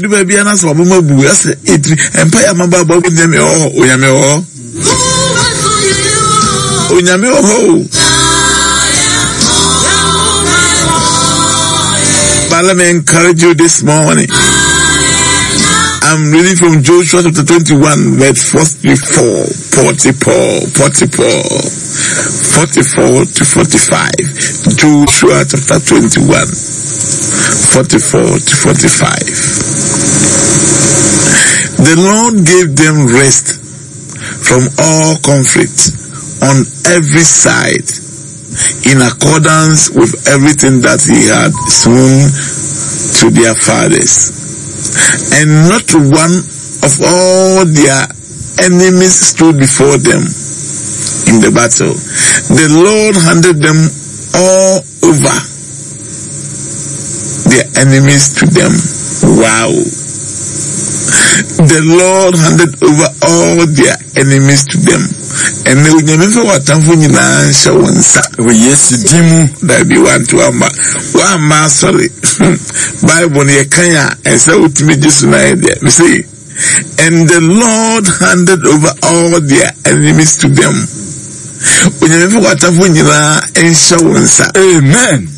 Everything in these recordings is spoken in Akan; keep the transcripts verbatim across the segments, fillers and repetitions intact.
Du baabi a na sɛ wabɔ bu ɛsɛ etiri mpa yɛ ama ba abɔ Onyame wɔ hɔ, Onyame wɔ hɔ, Onyame wɔ hɔ o. But let me encourage you this morning. I'm reading from Joshua chapter twenty-one, verse forty-four, forty-four, forty-four, forty-four to forty-five. Joshua chapter twenty-one, forty-four to forty-five. The Lord gave them rest from all conflict on every side, in accordance with everything that he had sworn to their fathers. And not one of all their enemies stood before them in the battle. The Lord handed them all over, their enemies to them. Wow. The Lord handed over all their enemies to them. And they Onyame fa w'atamfo nyinaa nhyɛ wo nsa. Wɔ Yesu din mu. Dabi, wanto ama wamma asɔre. Bible no yɛkan a, ɛsɛ wotumi gye so na yɛ deɛ mese, and the Lord handed over all their enemies to them. Onyame fa w'atamfo nyinaa nhyɛ wo nsa. Amen.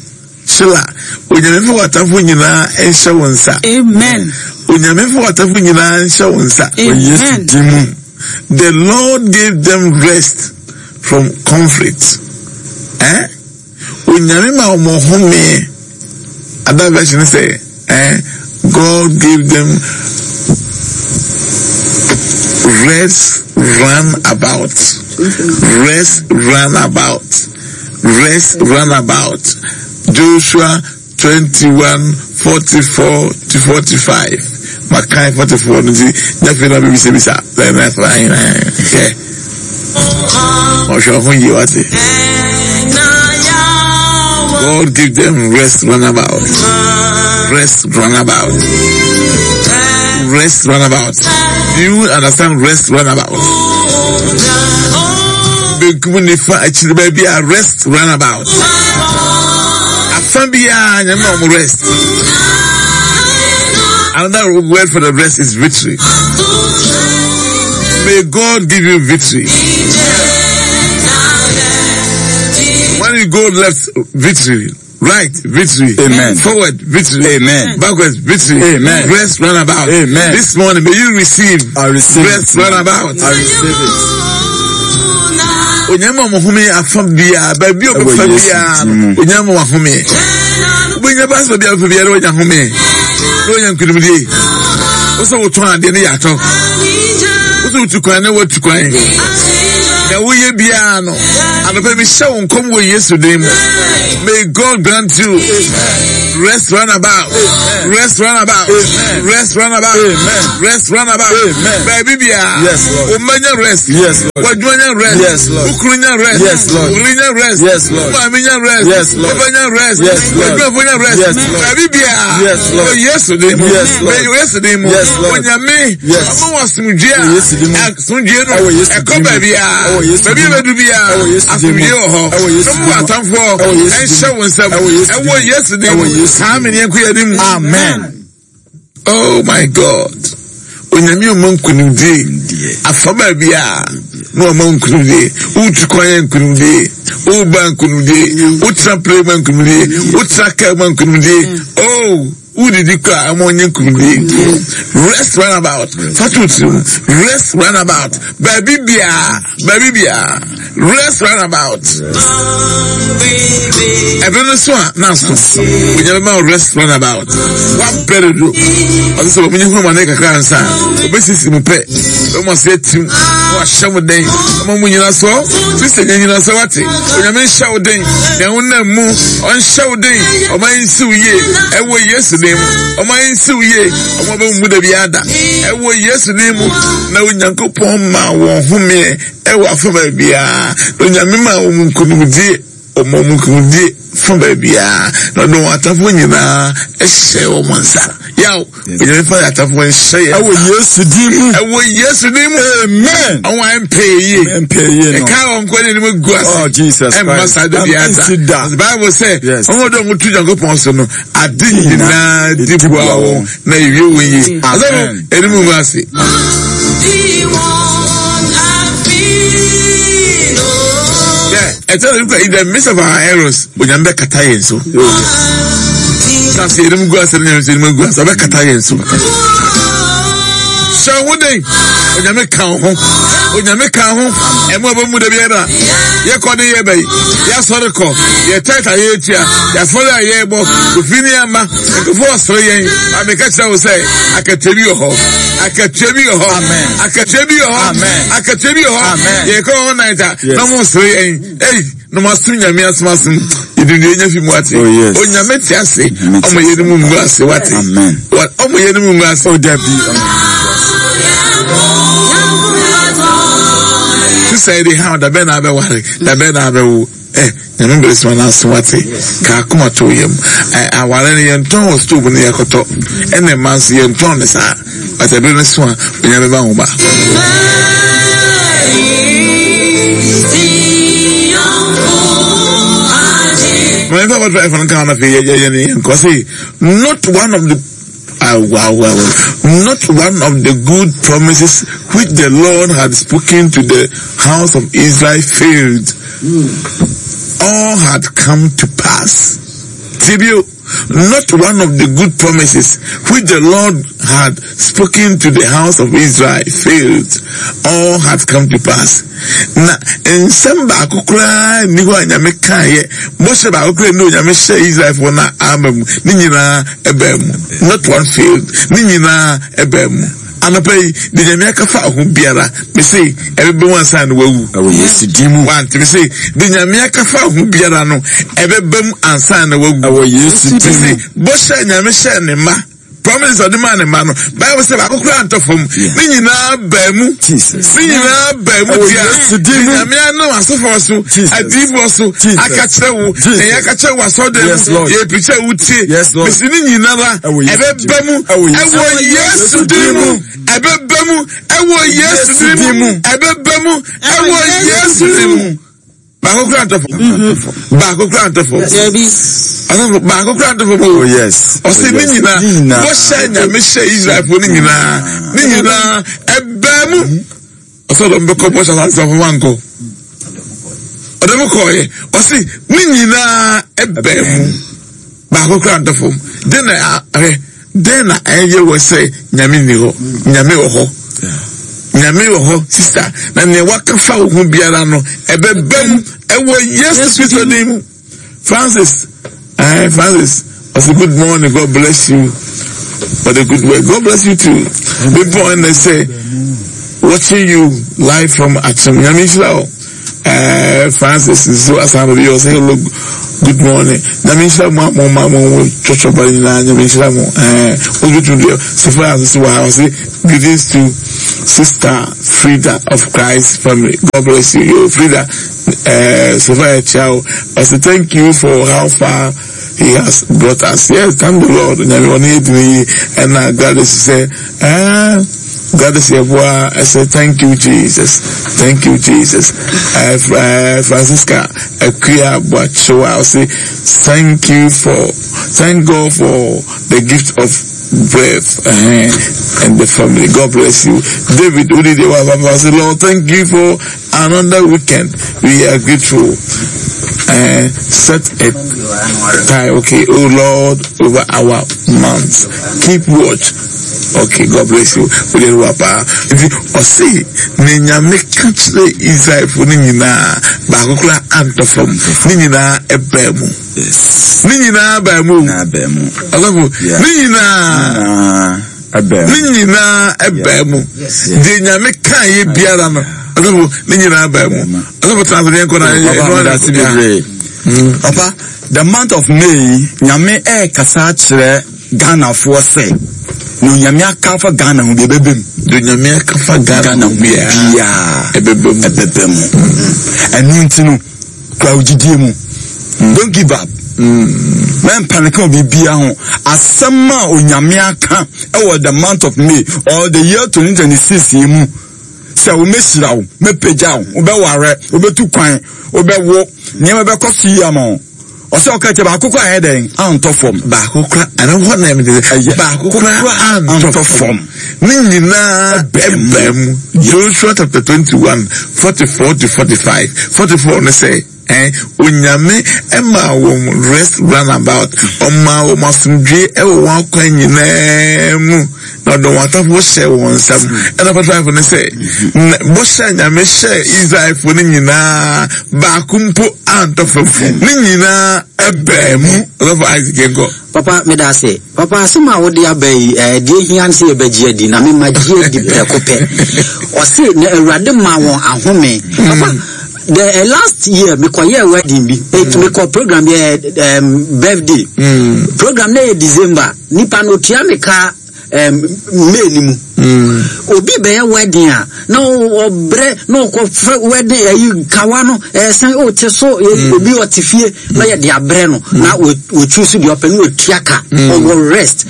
Sheila, Onyame fa w'atamfo nyinaa nhyɛ wo nsa. Amen. Onyame fa w'atamfo nyinaa nhyɛ wo nsa. Wɔ Yesu Amen. din mu. The Lord gave them rest from conflict. Eh? Onyame ma wɔn home. Other version say, eh? God gave them rest run about. Rest run about. Rest run about. Joshua twenty-one, forty-four to forty-five. Makai forty-four no nti nyafe na bibisa bisa. Yeah. Ɔhwɛ ho yie wate. God give them rest run about. Rest run about. Rest run about. Do you understand rest run about? Benkum nifa akyiri baabi a rest run about. Afa biara nyame ma wɔn rest. Another word for the rest is victory. May God give you victory. When you go left, victory. Right, victory. Amen. Forward, victory. Amen. Backwards, victory. Amen. Rest, run about. Amen. This morning, may you receive. I receive Rest, it. run about. I receive it. Onyame ma ɔhome afa biara, baabi a ɔbɛfa Ɛwɔ Yesu biara, din mu. Onyame ma wahome. Wobɛnya ba sɛ biara bɛfa biara, woanya home. Na woanya nkonimdie. Wo sɛ wotɔn adeɛ ne yɛ atɔ. Wo sɛ wotu kwan ne woatu kwan. Na woyɛ biara no, anɔpa mehyɛ wo nkɔm wɔ Yesu din mu. May God grant you rest run about. Rest run about. Rest run about. Amen. Rest run about. Amen. Baabi biara. Yes, Lord. Wo mma nya rest. Yes, Lord. W'adwuma nya rest. Yes, Lord. Wo kunu nya rest. Yes, Lord. Wo yere nya rest. Yes, Lord. Wo maame nya rest. Yes, Lord. Wo ba nya rest. Yes, Lord. W'adwumafo nya rest. Yes, Lord. Baabi biara. Yes, Lord. Wɔ Yesu din mu. Yes, Lord. Wɔ Yesu din mu. Yes, Lord. Onyame. Yes. Ɔma wɔ asomdwie a. Wɔ Yesu din mu. Asomdwie no. Ɛwɔ Yesu Ɛkɔ din mu. baabi a. Ɛwɔ Yesu Baabi a din mu. bɛdu biara. Ɛwɔ Yesu din mu. Asomdwie wɔ hɔ. Ɛwɔ Yesu Na din mo mu. atamfoɔ. Ɛwɔ Yesu din Ɛnhyɛ mu. wo nsam. Ɛwɔ Yesu din Ɛwɔ mu. Yesu din Ɛwɔ mu. Yesu din Saa mu. mene yɛnkɔ yɛn anim. Amen. Oh my God. Onyame ɔma nkonimdie. Afa baabi a na ɔma nkonimdie. Wotu kwan yɛ nkonimdie. Woba nkonimdie. Wotena plane ma nkonimdie. Wotena kaa ma nkonimdie. Oh, wodidi kɔ a ɛma ɔnyɛ nkonimdie. Rest run about. Fa to tirim. Rest run about. Baabi biara, baabi biara. Rest run about. Ɛbɛ no so a na so. Onyame ma wo rest run about. Wabrɛ dodo. Ɔsɛ sɛ wɔn hu amane kakra ansa. Obesisi mu pɛ. Wɔn ase atim. Na wahyɛ mo den. Ɔma mo nyina so. Sisi nyɛ nyina so wate. Onyame nhyɛ wo den. Nea wonam mu, ɔnhyɛ wo den. Ɔma nsi wo yie. Ɛwɔ Yesu din mu. Ɔma nsi wo yie. Ɔma bɛ mu da bi ada. Ɛwɔ Yesu din mu. Na Onyankopɔn ma wɔn homeɛ ɛwɔ afa baabiara. Na Onyame ma wɔn nkonimdie. Ɔma wɔn nkonimdie fa baabiara, na ɔde wɔn atamfoɔ nyinaa hyɛ wɔn nsa. Yaw, Onyame fa yɛn atamfoɔ nhyɛ yɛn nsa. Ɛwɔ Yesu din mu. Ɛwɔ Yesu din mu. Amen. Ɔwɔ a mpɛ yie. Mpɛ yie no. Ɛka wɔn nkɔ n'anim gu ase. Oh Jesus Christ. Ɛmma saa da biara da. The Bible sɛ, wɔn a wɔn tu Nyankopɔn so no, ade nyinaa di boa wɔn na ewie wɔn yie. Asɔfo, anim gu ase. Ɛtɔ da bi in the midst of our errors, Onyame bɛkata yɛn so. Sase yɛn gu ase ne yɛn anim gu ase, ɔbɛkata yɛn so. Hyɛ wo den, Onyame ka wo ho, Onyame ka ho. Ɛmu a bɛmu da biara, yɛkɔ ne yɛba yi, yɛasɔre kɔ, yɛ tɛt a yɛtua, yɛafɔre a yɛbɔ, ofi ne ama, nkurɔfoɔ ɔsere yɛn. Ameka kyerɛ wo sɛ, akatua bi wɔ hɔ, akatua bi wɔ hɔ, akatua bi wɔ hɔ, akatua bi wɔ hɔ. Yɛkɔ all night a, na mo sere yɛn. Ei, na mo asom Nyame asom asom. Yɛde nua nya fi mu ate. Onyame te ase, ɔmo yɛ ne mu ngu ase wate. Ɔmo yɛ ne mu ngu ase. Oh, Debbie. Sisa yi de ha da bɛn na abɛware, da bɛn na abɛwo. Eh, Nyame bere sima na aso wate. Ka akoma to yam. Eh, aware no yɛntɔn wɔ stove no yɛkɔtɔ. Ɛna mma nso yɛntɔn ne saa. But ɛbere no so a, Onyame ba ho ba. Not one of the uh, wow, wow, wow. Not one of the good promises which the Lord had spoken to the house of Israel failed. Mm. All had come to pass. Tibio, not one of the good promises which the Lord had spoken to the house of Israel failed. All had come to pass. Na nsɛm baako koraa nni hɔ a Nyame kaeɛ, bɔhyɛ baako koraa nni hɔ a Nyame hyɛɛ Israelfoɔ no ama mu, ne nyinaa ɛbaa mu. Not one failed. Ne nyinaa ɛbaa mu. Anɔpa yi, deɛ Nyame aka fa ho biara, mese ɛbɛbɛ mu ansa na wawu. Ɛwɔ Yesu din mu. Wante, mese deɛ Nyame aka fa ho biara no, ɛbɛbɛ mu ansa na wawu. Ɛwɔ Yesu din mu. Mese bɔhyɛ Nyame hyɛɛ ne mma, promises ɔde maa ne mma no, Bible sɛ baako koraa ntɔ fam, ne nyinaa baa mu. Jesus. Ne nyinaa baa mu Ɛwɔ tia. Yesu din mu. Nyame anam asɔfoɔ so, Jesus. adiyifoɔ so, Jesus. aka kyerɛ wo, Jesus. na yɛaka kyerɛ wo asɔredan Yes, mu, Lord. yɛpirikyi a wotie. Yes, Lord. Mesi ne nyinara, Ɛwɔ Yesu din ɛbɛba mu, Ɛwɔ Yesu ɛwɔ Yesu din mu, ɛbɛba mu, ɛwɔ Yesu din mu, ɛbɛba mu, ɛwɔ Yesu din mu. Baako kura ntɔ fam. Baako kura ntɔ fam. Asɔfo baako kura ntɔ fam o. Oh yes. Ɔsɛ Oh, ne yes. nyinaa Ne nyinaa. bɔhyɛ Nyame hyɛ Israelfoɔ ne nyinaa ne nyinaa ɛbaa mu. Ɔsɛ ɔdɔm bɛkɔ bɔhyɛ asase afɔ wankɔ. Ɔdɔm kɔɔyɛ. Ɔsɛ ne nyinaa ɛbaa mu. Baako kura ntɔ fam. Den na ahwɛ den na ɛyɛ wɔ sɛ Nyame nni hɔ. Nyame wɔ hɔ. Nyame wɔ hɔ sister. Na nea waka fa wo ho biara no ɛbɛba mu ɛwɔ Yesu Kristo din mu. Francis, eh, Francis, I say good morning, God bless you for the good work. God bless you too. People and they say, watching you live from Achim. Nyame nhyira wo. Eh, Francis, so asan bi say hello, good morning. Nyame nhyira mo mo ma mo twotwo ba nyinaa. Nyame nhyira mo. Eh, ojutu de so Francis wa I say greetings to Sister Frida of Christ family. God bless you. Yo, Frida, eh, Sophia Chow. I say thank you for how far he has brought us. Yes, thank the Lord. Nyame one yɛ and uh, God is say, eh, God is here. I say thank you, Jesus. Thank you, Jesus. Uh, uh, Francisca Akuya Boachoa, I say thank you for, thank God for the gift of breath uh, and the family. God bless you. David Udidewa, I say, Lord, thank you for another weekend. We are grateful. Uh, set a time, okay, oh Lord, over our months. Keep watch. Okay, God bless you. If you see, ne Nyame ka kyerɛ Israelfoɔ ne nyinaa, baako koraa antɔ fam. Ne nyinaa ɛbaa mu. Yes. Ne nyinaa baa mu. Na ɛbaa mu. Ɔsɔfo, Yeah. ne nyinaa, Na ɛbaa mu. ne nyinaa ɛbaa mu. Deɛ Nyame kaeɛ biara no, ɔsɔfo, ne nyinaa baa mu. Ɔsɔfo, tena ase, yɛnkɔ na yɛ- Papa, yɛ- meda ase bebree. Papa, the month of May, Nyame ɛrekasa akyerɛ Ghanafoɔ sɛ, na Onyame aka afa Ghana ho bi ɛbɛbɛ mu. Deɛ Onyame aka afa Ghana Ghana ho ho biara biara ɛbɛbɛ mu. ɛbɛbɛ mu. Ɛno nti no, kura wo gyidie mu. Don't give up. Mɛmpaneka wɔ biribia ho. Asɛm a Onyame aka ɛwɔ the month of May or the year twenty twenty-six yi mu sɛ womɛhyira wo, mɛpagya wo, wobɛware, wobɛtu kwan, wobɛwo, nneɛma bɛkɔ so yi ama wo. Ɔsɛ ɔka kyɛ baako kora ayɛ dɛn antɔ fam. Baako kora ɛno hɔ na ɛmɛ Ɛyɛ. Baako kora antɔ antɔ fam. Fam. Ne nyinaa ɛbɛn mu. Ɛbɛn mu. Joshua chapter twenty-one, forty-four to forty-five. Forty-four ne sɛ ɛn Onyame ɛma wɔn rest round about, ɔma wɔn asomdwe ɛwɔ wɔn akwan nyinaa mu na ɔde wɔn atafo hyɛ wɔn nsam. Ɛna forty-five ne sɛ na bɔhyɛ a Nyame hyɛ Israelfoɔ no nyinaa, baako mpo antɔ fam, ne nyinaa ɛbɛn mu. Ɔsɔfo Isaac, yɛn kɔ. Papa, meda ase. Papa, asɛm a wode aba yi, eh, deɛ hia ne sɛ yɛbɛgye adi na mema gye adi prɛko pɛ. Ɔse na Awurade ma wɔn ahome. Papa, the uh, last year mekɔyɛɛ wedding bi, eh, mekɔ program bi, eh, um, birthday program na yɛ December. Nipa no otua me ka um, May ni mu. Obi bɛyɛ wedding a na ɔbrɛ na ɔkɔfrɛ wedding ayi kawa no ɛsɛn ɔte so yɛ- obi ɔte fie na yɛde abrɛ no na wɔtwi so deɛ ɔpɛ na wɔtua ka. Ɔwɔ rest.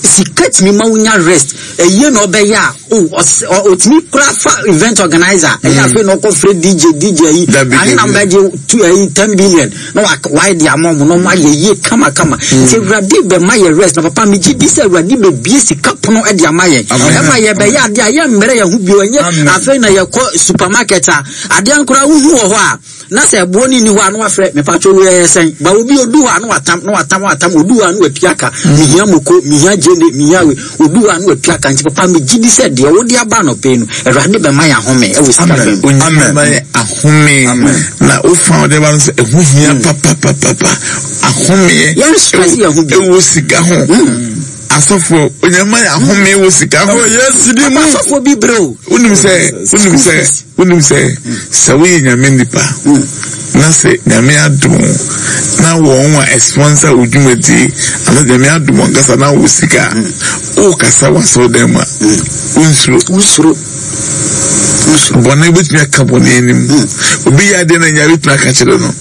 Sika tumi ma wonya rest. Ɛyie na ɔbɛyɛ a o ɔs- ɔ- ɔtumi kora fa event organizer ɛyɛ. Afei na ɔkɔfrɛ D J D J ayi Dabi, ahe na dabi. mbɛgye tu ayi ten billion na wa- wayɛ de ama ɔmo na ɔmo ayɛ yie kamakama. Nti Awurade bɛma yɛ rest. Na papa, megye di sɛ Awurade bɛbie sika pono de ama yɛn. Amen. Ɛma yɛbɛyɛ adeɛ a yɛmmerɛ yɛn ho bio. Ɛnyɛ Amen. afei na yɛkɔ supermarket a adeɛ nkora wohu wɔ hɔ a na sɛ ɛboɔ no nni hɔ a na wafrɛ mepatwo wo yɛyɛ sɛn ba. Obi odu hɔ a na watam na watam watam. Odu hɔ a na watua ka, mehia moko, mehia gyene, mehia we. Odu hɔ a na watua ka. Nti papa, megye di sɛ deɛ wode aba anɔpɛ yi no, Awurade bɛma yɛ ahome ɛwɔ sika Amen. fam. Onyame Amen. ma yɛ ahome. Amen. Na wofa wode ba no sɛ ɛho hia papapapapa, ahomeɛ Yɛn stress yɛn ho bio. ɛwɔ sika ho. Asɔfoɔ, Onyame ma yɛ ahome wɔ sika ho. Ɛwɔ Yesu din mu. Papa, asɔfoɔ bi brɛ o. Wonim sɛ wonim sɛ wonim sɛ sɛ woyɛ Nyame nipa na sɛ Nyame adom wo na wɔn a ɛsponsor wo dwumadie anaa Nyame adom wɔn kasa na wo sika a wokasa wɔ asɔredan mu a, wonsuro. Wosuro, wosuro. Bɔne wobɛtumi aka bɔne anim. Obi yɛ adeɛ na nya wobɛtumi aka kyerɛ no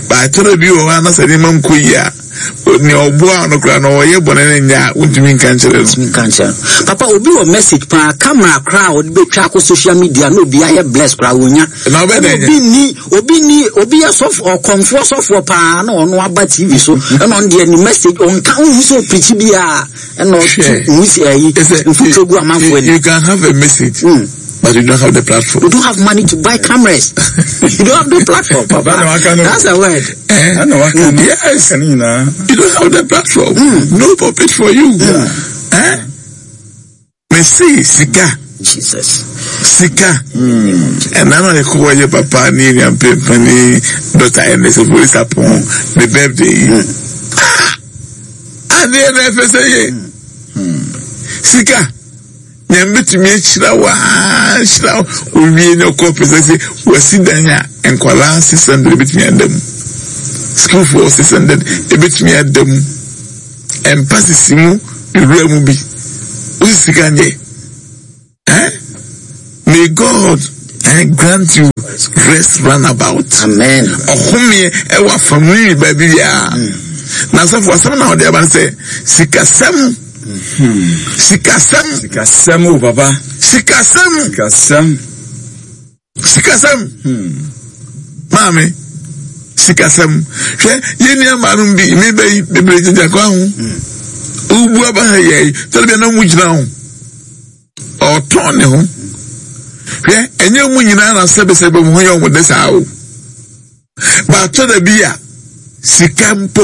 baatɔrɔ bi wɔ hɔ a na sɛ nneɛma nkɔ yie a, nea ɔboa no koraa na ɔyɛ bɔne no nyɛ a, wontumi nka nkyerɛ no. Ntumi nka nkyerɛ no. Papa, obi wɔ message paa, camera koraa a ɔde bɛtwa akɔ social media na obi ayɛ bless koraa wonya. Na ɔbɛ dɛ obi ni obi ni obi yɛ sɔfo, ɔkɔmfoɔ sɔfoɔ paa na ɔno aba T V so ɛna ɔno deɛ ne message ɔnka nhu sɛ ɔpirikyi biara ɛna ɔtu Hwɛ. nwusi ayi It's a- mfuturo gu amanfoɔ you, ani. you can have a message, Mm. but you don't have the platform. You don't have money to buy cameras, you don't have the platform, papa. Papa, na waka no. That's a word. Eh? Ɛna waka no. Yes. Ka ne nyinaa. You don't have the platform. No pulpit for you. Eh? Mese sika. Jesus. Sika. Ɛna na yɛkɔ wɔyɛ papa ne nua mpempani Doctor Ernest Ofori Sarpong ne birthday yi. Ah! Adeɛ na ɛfɛ sɛ yɛ. Sika. Nyame bɛtumi ahyira wo aa hyira wo owie ne ɔkɔ pɛ sɛ sɛ wasi dan a nkwalaa six hundred ebɛtumi ada mu, sukuufoɔ six hundred ebɛtumi ada mu, mpa sisi mu, ewura mu bi wosi sika nyɛ. Eh? May God eh, grant you rest round about. Amen. Ɔhomeɛ ɛwɔ afamuni baabi biara. Na asafo asɛm na ɔde aba no sɛ sikasɛm, sikasɛm. Sikasɛm o, papa. Sikasɛm. Sikasɛm. Sikasɛm, maame, sikasɛm. Hwɛ, yɛn nua maanom bi meba yi bebree gyinagyina kwan ho. Wobu aba ha yɛ yi tɛlɛ bi anam mu gyina ho ɔtɔn ne ho. Hwɛ, ɛnyɛ mu nyinaa na sɛbesɛbe mu ho yɛ ɔmo de saa o. Baatɔ da bi a sika mpo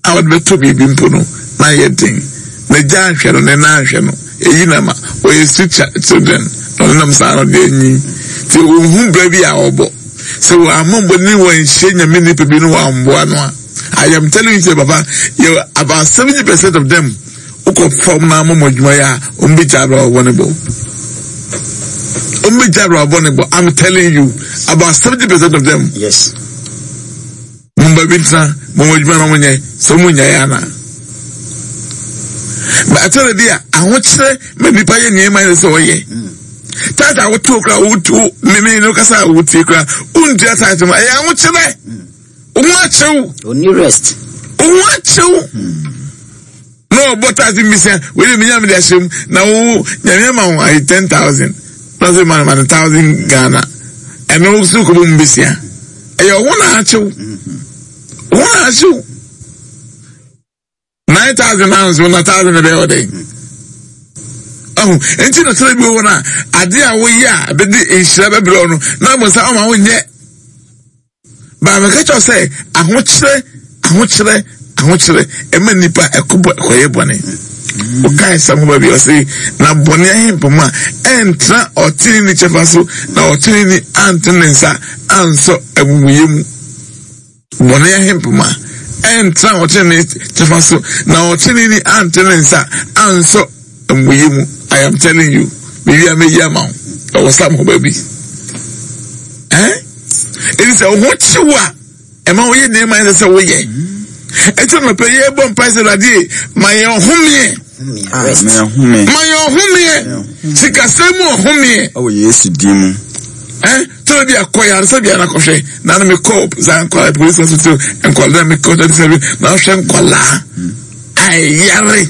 a wɔde bɛtɔ biribi mpo no na yɛ den na gya ahwɛ no ne nan ahwɛ no eyi na ma wɔyɛ street children na ɔno nam saa no deɛ anyi nti ohun bere bi a ɔbɔ sɛ wɔn amambɔ ne wɔn nhyɛ Nyame nipa bi no wɔn amboa no a, I am telling you say, papa, yɛ about seventy percent of them wokɔ fam na amamɔ adwuma yɛ a, wɔn bɛ gya abira wɔbɔ ne bɔ, wɔn bɛ gya abira wɔbɔ ne bɔ. I'm telling you, about seventy percent of them. Yes. Mo ba bi tena mo mo adwuma na mo nyɛ sɛ mo nya yɛ ana baatɛrɛ bi a ahokyerɛ ma nipa yɛ nneɛma yɛ sɛ ɔyɛ taata a woto kora woto mímí no kasa a wotie kora wontua taata mu ɛyɛ ahokyerɛ. Wo ho akyew. Onni rest. Wo ho akyew. Na ɔbɔ taase mbisa wei de menya mede ahyɛ mu na wo Nyame ama wo ayi ten thousand na ɔsɛ ma ma no thousand Ghana ɛno so kɔbɔ mu besia ɛyɛ wo ho na akyew wo ho na akyew nine thousand na nso na thousand na bɛyɛ ɔdɛn ɔho nti na sɛ bi wɔ no a ade a woyɛ a bɛde nhyira bɛbrɛ wo no na mmɔ sɛ ɔma wonyɛ. Baameka kyerɛ sɛ ahokyerɛ ahokyerɛ ahokyerɛ ɛma nipa ɛkɔ bɔ ɛkɔyɛ bɔne. Ɔkae sɛm ho baabi ɔse na bɔne ahempam a ɛntra ɔtene ne kyɛfa so na ɔtene ni antene ne nsa ansɔ amumuyɛ mu. Bɔne ahempam a ɛntra ɔtene ne kyɛfa so na ɔtene ni antene ne nsa ansɔ amumuyɛ mu. I am telling you, mewi a meyi ama wo. Ɛwɔ sam ho baabi. Eh? Ɛti sɛ wo ho kyew a ɛma woyɛ nneɛma ɛsɛ sɛ woyɛ. Ɛti nɔpɛ yɛ bɔ mpae sɛ Awurade ma yɛn ɔhomeɛ. Ma yɛn ɔhomeɛ. Sikasɛm mu ɔhomeɛ. Ɛwɔ Yesu din mu. Eh? Tọ́lá bi akɔ yàrá bi anakɔhwɛ na mi kɔ saa nkɔla polisi hospital nkɔla mi kɔ tẹ́tí sẹ́bi na ɔhwɛ nkɔla ayare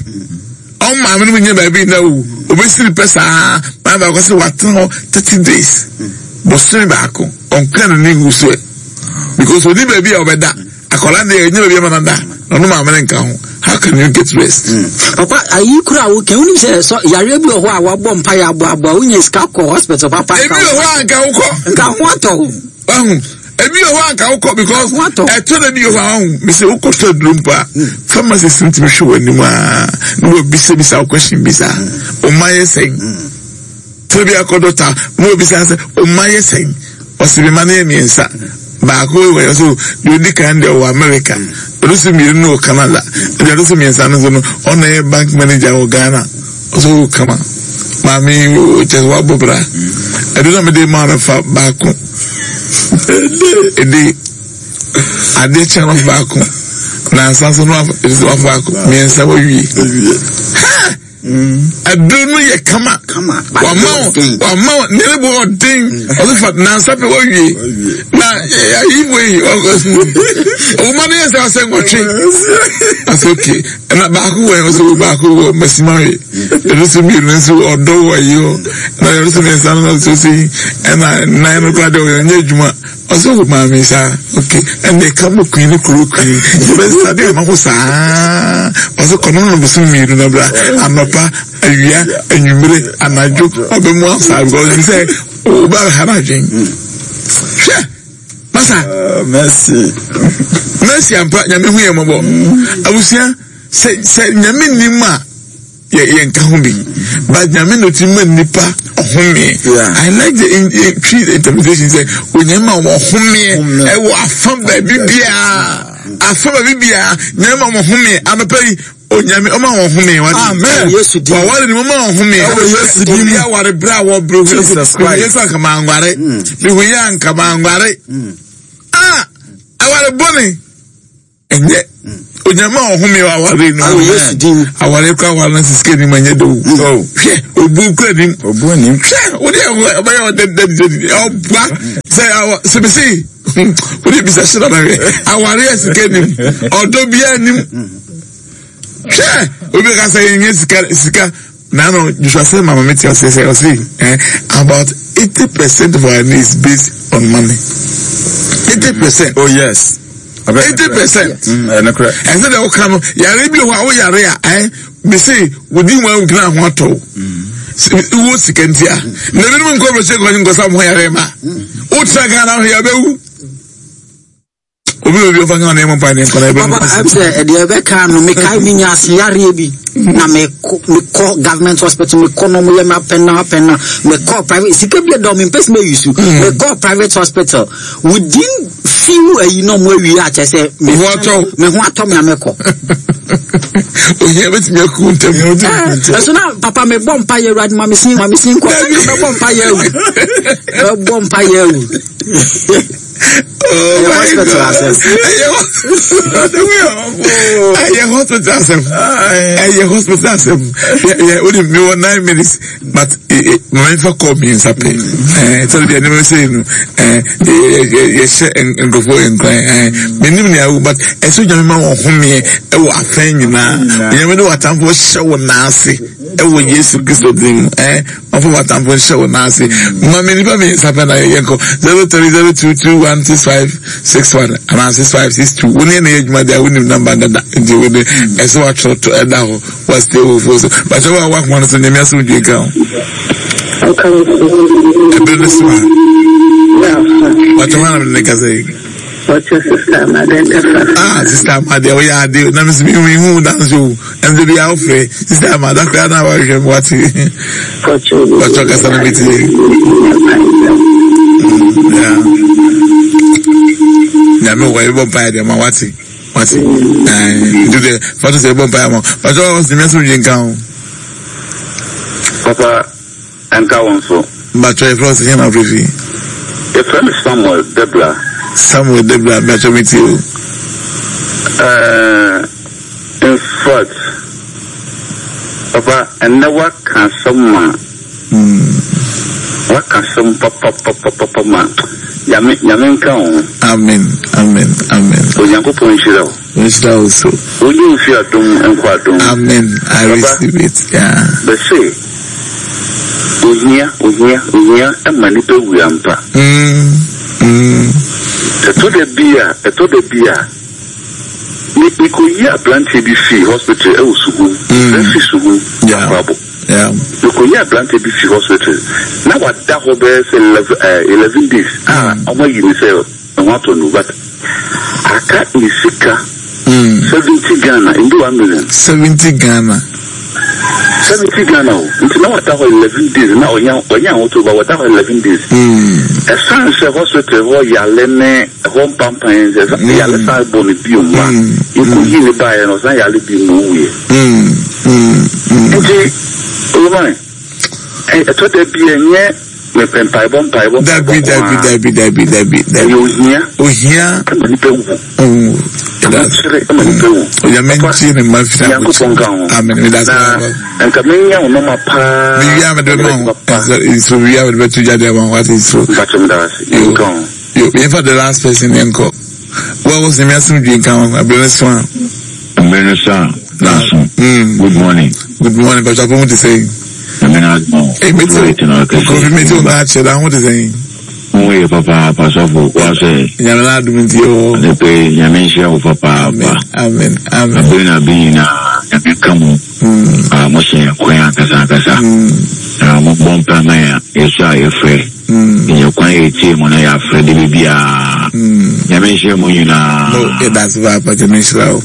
ɔmo maame no mu nyɛ baabi na o obesiri pɛ saa maame baako sɛ watena hɔ thirty days bɔsɔn baako ɔnka ne ne ngu so ɛ because oni baabi a ɔbɛda akɔla deɛ ɛnyɛ baabi a ɔbɛda na ɔno maame no nka ho. How can you get rest? Mm. Papa, ayi kura wo kɛ wonim sɛ sɔ yareɛ bi wɔ hɔ a wabɔ mpa yɛ aboaboa wonya sika kɔ hospital papa. Ebi wɔ hɔ a nka wokɔ. Nka ho atɔ wo. Wahu. Ebi wɔ hɔ a nka wokɔ because ɛtɔ na bi wɔ hɔ a wahu. Mese wokɔ tɔ aduro mpo a pharmacist no tumi hwɛ w'anim a na wabisabisa wo question bi saa. Ɔma yɛ sɛn? Tɔ bi akɔ dɔkta na wabisa sɛ ɔma yɛ sɛn? Ɔsi mi ma no yɛ mmiɛnsa. Baako wɔ yɛ so deɛ odi kan deɛ wɔ America, ɔno so mmienu no wɔ Canada, deɛ ɔno so mmiɛnsa no nso no ɔna yɛ bank manager wɔ Ghana. Ɔsɛ wɔ kama maame kyɛ sɛ wabɔ bra. Ɛdo na mede maa no fa baako ɛde adeɛ kyɛn no baako na nsa nso no wafa baako mmiɛnsa wawie. Ha! Ɛduro no yɛ kama wama wama ne ne bɔ ɔden ɔsɛ fa nansa pɛ wawie na ayi wo yi ɔwoma no yɛ sɛ ɔsɛ nwɔtwe ɔsɛ oke ɛna baako wɔ ɔsɛ baako wɔ mɛsimawe ɛno so mmienu nso ɔdɔ wɔ ayi hɔ na ɛno so mmiɛnsa no nso so yi ɛna nnan no koraa deɛ ɔyɛ nyɛ adwuma ɔsɛ wo maame saa oke ɛna ɛka mo kun ne kuro kun yɛbɛsa de ama ho saa ɔsɛ kɔnɔ no bosom mmienu na bra anɔpa awia anwummere anadwo ɔbɛ mu asa because bi sɛ ɔba ha na adwen hwɛ masa mercy mercy ampa Nyame hu yɛ mmɔbɔ abusua sɛ sɛ Nyame nim a yɛ yɛ nka ho bi but Nyame na ɔtumi ma nipa ɔhomeɛ. I like the in, in, tree interpretation sɛ Onyame ma wɔn ɔhomeɛ ɛwɔ afa baabi biara afa baabi biara Nyame ma wɔn ɔhomeɛ anɔpa yi Onyame ɔma wɔn ɔhomeɛ wate. Amen. Yesu din. Waware ni wɔn ma wɔn ɔhomeɛ. Ɛwɔ Yesu din Obi aware bere a wɔbrɛ Jesus Christ. Yesu anka maa nware. Mihu yɛ anka maa nware. Ah, aware bɔne. Ɛnyɛ Onyame a ɔhome wɔ aware no. Ɛwɔ Yesu din. Aware kɔ aware no sisi anim anyɛ de o. Hwɛ obu kura nim. Obu anim. Hwɛ wode ɔbɛyɛ ɔdɛ dɛ dɛ ɔboa sɛ awɔ sɛbɛsɛ wode bisa hyɛ na hwɛ aware yɛ sika nim ɔdɔ biara nim. Hwɛ obi ka sɛ yɛnyɛ sika sika na no Joshua sɛ mama mi ti ɔsɛ sɛ ɔsɛ eh about eighty percent of our needs based on money. Eighty percent. Oh yes. Eighty percent. Ɛsɛ dɛ ɔka no yare bi wɔ hɔ a woyare a ɛ mese wodi wɔn gyina ho atɔ wo sika nti a na ebinom nkɔ bɛhyɛ nkɔ nkɔsa mo yare ma wotra Ghana ho yɛ bɛwu obi obi ɔfa nka ɔne mpa ne nkɔla ebe. Papa ɛm sɛ ɛdeɛ ɛbɛka no mekae menya aseyareɛ bi na mekɔ mekɔ government hospital mekɔ no ɔmo yɛ me apɛn na apɛn na mekɔ private sika bi ɛdɔ mempɛ sɛ meyi su mekɔ private hospital within few ayi na ɔmo awie akyɛ sɛ me Ho atɔ wo. me ho atɔ me a mekɔ. Ohia bɛtumi aku ntɛm. Ɛso na papa mebɔ mpa yɛ Awurade ma me sin ma me sin kɔ mɛbɔ mpa yɛ awu mɛbɔ mpa yɛ awu. Oh Ɛyɛ my hospital God. asɛm. Ɛyɛ ɛyɛ hospital asɛm. Ɛyɛ hospital asɛm. Yɛ yɛ o de mi wɔ nine minutes but maame nfa kɔɔ mmiɛnsa pɛ. Ɛɛ sɔrɔ bi a nneɛma sɛ no ɛɛ yɛ yɛ yɛhyɛ nkurɔfoɔ nkran ɛɛ menim nea awo but ɛsɛ Onyame ma wɔn homeɛ ɛwɔ afɛn nyinaa. Onyame de w'atamfo hyɛ wɔn nan ase ɛwɔ Yesu Kristo din mu ɛɛ ɔfɔ w'atamfo nhyɛ wɔn nan ase. Maame nipa mmiɛnsa pɛ na yɛ nkɔ zero three zero two two one six five six one anaa six five six two. Wɔn yɛn na yɛ adwuma deɛ wɔnim namba dada nti wɔn de ɛsɛ watwerɛ to ɛda hɔ wɔasite wɔ fuo so bàtɛ wɔ a wakoma no so nyame asɛm dwe nka ho. Ɛbɛrɛ no so a bàtɛ wɔn anam ne kasa yi. Ah, Sister Amade, oh yeah, ade na mesi mi hu dance o. Ɛnde bi awofrɛ Sister Amade akora na wahwɛ mu wate. Bàtɛ kasa na mi tie. Yeah. Nyame wɔ ɛbɔ mpaeɛ deɛ ma wate wate. Ɛɛ nti deɛ fɔtɔ sɛ ɛbɔ mpaeɛ ma bàtɛ wɔ sɛ nyame asɛm dwe nka ho. Papa, ɛnka wo nso. Bàtɛ yɛ fɔlɔ sɛ yɛn na afiri fi. Yɛfrɛ me Samuel Debra. Samuel Debra bàtɛ mi tie o. Uh, in fact, papa, ɛnnɛ woaka asɛm ma woaka asɛm papapapapa ma Nyame Nyame nka wo ho. Amen amen amen. Onyankopɔn nhyira wo. Nhyira wo so. Wonye wo fi adom nkɔ adom. Amen. I Papa, receive it. Yeah. bɛse ohia ohia ohia ma nipa wu ampa. Mm, mm. Ɛtɔ da bi a ɛtɔ da bi a me mekɔyi aberanteɛ bi fii hospital ɛwɔ Suhum. Mm. Ɛfi Suhum Yeah. Akwabo. Yeah. Mekɔyi aberanteɛ bi fi hospital na wada hɔ bɛyɛ sɛ eleven ɛɛ eleven days a ɔmo ayi ne sɛ ɛho atɔ no but aka ne sika Mm. seventy Ghana ndu one million. Seventy Ghana. Seventy Ghana o nti na wada hɔ eleven days na ɔnya ɔnya ahotɔ ba wada hɔ eleven days. Mm. Ɛsan sɛ hospital hɔ yale ne ɛhɔ mpampan sɛ yale san bɔ ne bio mu a Mm. yɛkɔyi ne baeɛ no ɔsan yale bi mu owuiɛ. Mm. Mm. Mm. Nti owurman ɛtɔ da bi ɛnyɛ mepɛ mpaebɔ mpaebɔ Dabi mpaebɔ nko dabi ara. dabi dabi dabi Ɛyɛ dabi. ohia Ohia. ɛma nipa wu. Oh. Ahokyere ɛma nipa wu. Onyame Papa, ntie ne mma mfiri Nyankopɔn nka ho. Amen. Meda ase Na papa. nka menya wo nɔma paa. Mewia mede bɛma wo. Nso wia mede bɛto gya de ama wo. Wate nso. Mpakyɛ meda ase. Yo. Nka ho. Yo, yɛmfa the last person yɛnkɔ. Wo a wo sɛ nyame asɛm dwe nka ho. Abere no so a. Mmere no so a Na. naso. Mm. Good morning. Good morning. Pastor Apo ho te sɛn? Nyame na adom wo. Eh, mete Wait na ɔkɛse. Kofi mete wo nka akyerɛ da ho te sɛn? Wo yɛ papaapa sɔfo. Wa sɛ Nyame na adom nti yɛwɔ hɔ. ne pe Nyame nhyira wo papaapa. Amen. Amen. Amen. Abere na abere nyinaa Nyame ka mu. Mm. A mo hyɛ yɛn kwan ankasa ankasa. Mm. Na mo bɔ mpa ma yɛn yɛsɔ a yɛfrɛ. Mm. Yɛnyɛ kwan a yɛtie mu na yɛafrɛ de biribiara. Mm. Nyame nhyira mo nyinaa. No, yɛda ase paapa Nyame nhyira wo.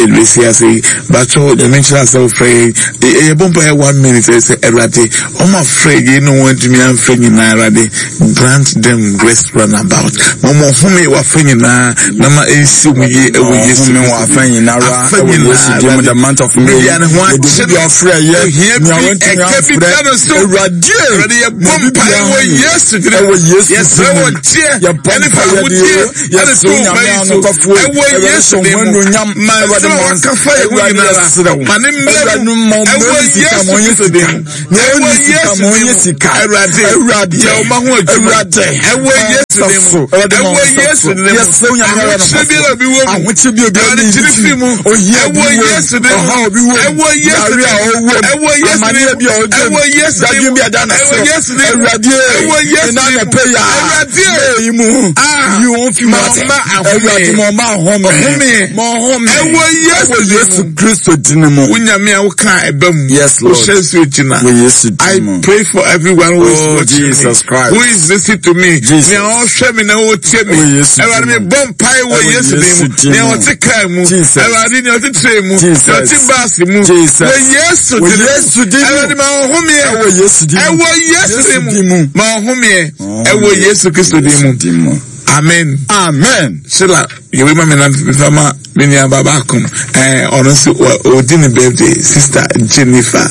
Ɛbɛsi ase yi batwɛ Nyame nhyira sɛ wofrɛ yɛn. Ɛ- Yɛbɔ mpa yɛ one minute ɛ sɛ Awurade ɔma frɛ yɛn ne wɔn antumi amfrɛ nyinaa Awurade grant them rest runabout. Ma ɔmo home wafɛ nyinaa na ma ɛnsi mu yie ɛwɔ Yesu Ɔhome wɔ afa nyinara Afa ɛwɔ nyinaa, Yesu din mu the month of May. Biribi a ne ho Yɛde akyere bi afrɛ yɛ ohia bi nea wɔntumi ɛka bi amfrɛ. da no so. Awurade Awurade yɛbɔ mpaeɛ wɔ Yesu din mu. Ɛwɔ Yesu Yɛsrɛ din mu. wɔ gyeɛ Yɛbɔ ɛne fa mpaeɛ ahodeɛ deɛ, ɛne yɛsrɛ to Onyame mma yi so. anokwafoɔ, Ɛwɔ Awurade Yesu hyɛ din wo mu. anuonyam, Ma Awurade nsɛm a ma waka fa yɛn ho Awurade nyinara yɛsrɛ wo. ma ne mmerɛ Awurade mu. ma ɔmmrɛ Ɛwɔ ne sika, Yesu ma ɔnyɛ Kristo din sika. mu. Nea Ɛwɔ ɔnni sika, Yesu ma din ɔnyɛ mu. sika. Awurade Awurade. yɛ ɔma ho adwuma. Awurade. Ɛwɔ Yesu din mu. So, Awurade ma Ɛwɔ wo nsa Yesu so. din mu. Yɛsrɛ Onyame ara Ahokyere biara obi wɔ mu. Ahokyere bi obi Awurade ani kyere fi mu. Ohia bi Ɛwɔ wɔ mu. Yesu din mu. Ɔhaw bi wɔ mu. Ɛwɔ Yesu Yare din a mu. ɔwɔ mu. Ɛwɔ Yesu din Amanneɛ mu. bi a ɔgye mu. Ɛwɔ Yesu din Dadwen mu. bi a da ne Ɛwɔ so. Yesu din mu. Awurade, Ɛwɔ Yesu ɛna din mu. anɔpa yi a, Awurade. May mu. Ah. Yi wɔn fi mu Ma ate. ɔmma ahome. Awurade ma ɔmma ahome. Ɔhome. Ma ɔhome. Ɛwɔ Yesu Ɛwɔ din Yesu mu. Kristo din mu. Wo Nyame a woka ɛba mu. Yes, Lord. Wohyɛ nsuo gyina. Wɔ Yesu I din mu. pray for everyone who is Oh, watching Jesus me, Christ. who is listening to me. Jesus. Nea ɔhwɛ me na ɔtie me. Wɔ Yesu din Awurade mu. me bɔ mpae wɔ Ɛwɔ Yesu din Yesu mu. din Nea mu. ɔte kaa mu. Jesus. Awurade nea ɔte train mu. Jesus. Nea ɔte bus mu. Jesus. Wɔ Yesu Wɔ din mu. Yesu din mu. Awurade ma ɔhomeɛ. Ɛwɔ Yesu din mu. Ɛwɔ Yesu Yesu din din mu. mu. Ma ɔhomeɛ. Ɛwɔ Yesu Kristo din mu. Din mu. Amen. Amen. Sheila, yɛwei ma me na mefa ma me nua ba baako ɛɛ ɔno nso wɔ- ɔdi ne birthday sister Jennifer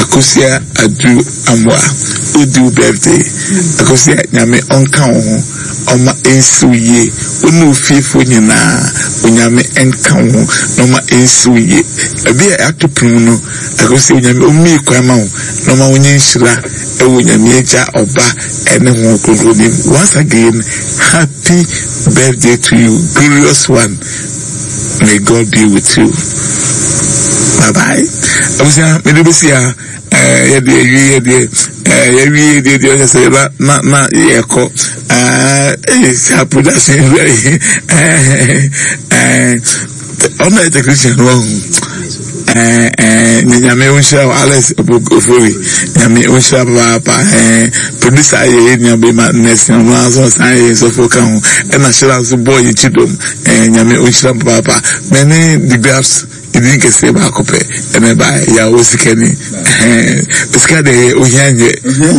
Akosia Adu Amoa Wodi wo birthday. Akosua, Nyame ɔnka wo ho, ɔma ɛnsi wo yie. Wo ne wo fiefoɔ nyinaa, Onyame ɛnka wo ho na ɔma ɛnsi wo yie. Ebi a ato pono mu no, Akosua, Onyame ɔmmue kwan ma wo na ɔma wonyɛ nhyira ɛwɔ Nyame Agya, Ɔba ɛne Honhom Kronkron nim. Once again, happy birthday to you, glorious one. May God be with you. Bye bye. Abusua, mede bɛsi ha. ɛɛ yɛde awie, yɛde ɛɛ yɛwie deɛ deɛ ɔhyɛ sɛ na na na yɛkɔ ɛɛ ɛyɛ saa production ɛɛ ɛɛ ɔno yɛ technician no ɔho ɛɛ ɛɛ Nyame nhyira wo, Alex Ofori. Nyame nhyira papaapa. ɛɛ producer ayɛ yɛ nua bɛma nurse, ɔno nso ɔsan yɛ nsɔfo ka ho, ɛna hyira nso bɔɔ yɛ kyi dɔm. ɛɛ Nyame nhyira papaapa. Mɛne the graphs ebi nkɛseɛ baako pɛ ɛna ɛba yɛ a osikani sika de yɛ ohia nyɛ,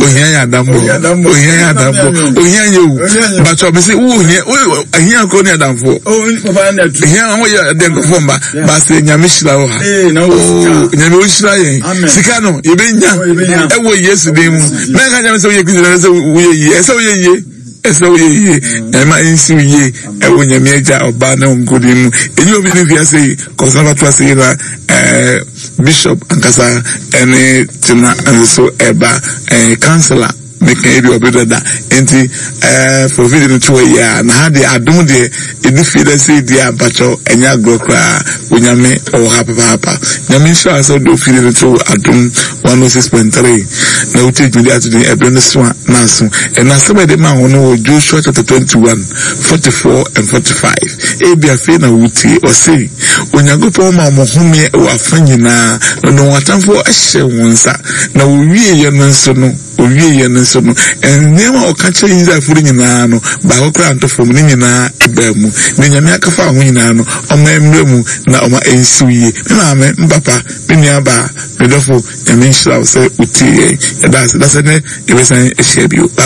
ohia yɛ adambɔ, ohia yɛ adambɔ, ohia nyɛ wu bàtɔ bɛ sɛ wo ohia wo ohia kuro ne adamfo ohia wɔn yɛ ɛdɛ nkɔfɔ mba baasi. Nyame hyira wɔ ha. Ooo, Nyame o hyira yɛn. Sika no yɛbɛ nya ɛwɔ Yesu din mu. Mɛnka nyame sɛ woyɛ Kristo na sɛ woyɛ yie, ɛsɛ woyɛ yie, ɛsɛ woyɛ yie. Nyame nsi yie ɛwɔ Nyame Agya, Ɔba ne Nkodin mu. Enyi obi ne wiase yi kɔsɔn ato ase yi na ɛɛ bishop ankasa ɛne tena nso ɛba ɛɛ councillor meka ebi ɔbi dada nti ɛɛ for video no to hɔ yi a na ha deɛ adum deɛ edi fie dɛ sɛ edi a mpakyɛw ɛnyɛ agorɔ koraa. Onyame ɔwɔ ha papaapa. Nyame nhyira sɛ ɔde ofie no to Adom one oh six point three na wotie dwumadi ato din Ɛberɛ no So a na aso. Ɛna asɛm a yɛde ma ho no wɔ Joshua chapter twenty one forty four and forty five. Ebi afei na wotie. Ɔse Onyankopɔn ma wɔn homeɛ wɔ afa nyinaa na ɔde wɔn atamfoɔ hyɛ wɔn nsa, na wɔwieɛ no nso no owieɛ no nso no nneɛma a ɔka kyerɛ Israelfoɔ no nyinaa no, baako koraa nto fam. Ne nyinaa ɛbaa mu. Na Nyame akafa ho nyinaa no, ɔma mmerɛ mu na ɔma ɛnsiw yie. Me maame, me papa, me nua baa, me dɔfo, Nyame nhyira wo sɛ wotie yɛn. Yɛda ase da sɛ nɛ yɛbɛsan ahyia bio.